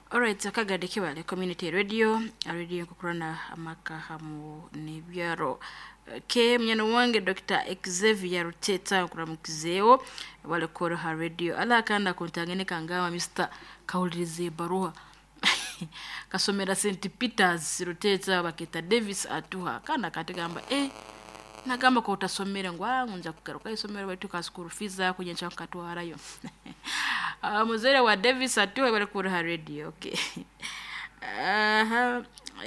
Alright, akagade kibale Community Radio, radio nkukurana amaka hamu n'ebyaro. Ke munyana wange Dr. Xavier Ruteta nkuramukizeewo bale ha radio. Ala akanda kuntangene kangama Mr. Kawuliriza ebaruha. Kasomera St. Peters Ruteta baketa Davis atuha. Kana katigamba nagamba ko utasomera ngu nja kugaruka isomero baitu ka school fees ako nyencha nkatwarayo. Muzere wa Davis atuha bari kuri ha radio. Okay. Aha,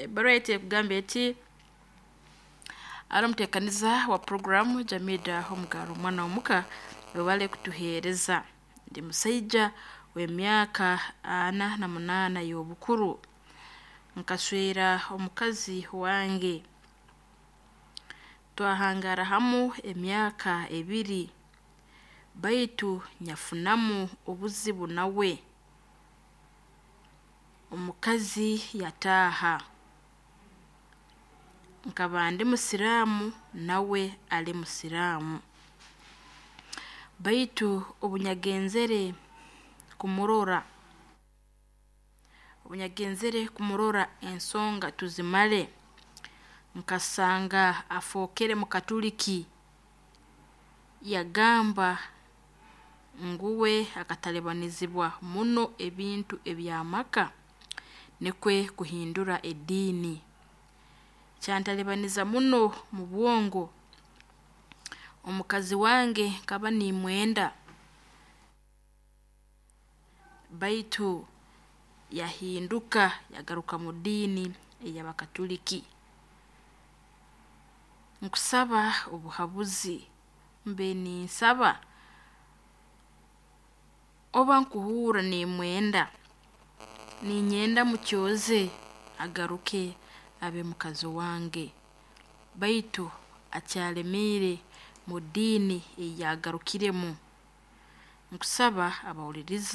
barua yetu ekugamba eti ari omuteekaniza wa programu Jamida Omugaro omwana omuka webale kutuheereza. Ndi musaija w'emyaka 48 y'obukuru. Nkaswera omukazi wange. Twahangara hamu emyaka 2 baitu nyafunamu obuzibu nawe. Omukazi yataaha. Nkaba ndi musiraamu nawe ali musiraamu. Baitu obunyagenzere kumurora ensonga tuzimale, nkasanga afookere mukatuliki. Yagamba nguwe akatalibanizibwa muno ebintu eby'amaka nikwe kuhindura ediini. Kyantalibaniza muno mu bwongo. Omukazi wange nkaba nimwenda baitu yahinduka yagaruka mu diini ey'abakatuliki. Nkusaba obuhabuzi mbe ninsaba oba nkuhurra nimwenda, ninyenda mukyoze agaruke abe mukazi wange. Baitu akyalemiire mu diini ei yagarukiremu. Nkusaba abahuliriza.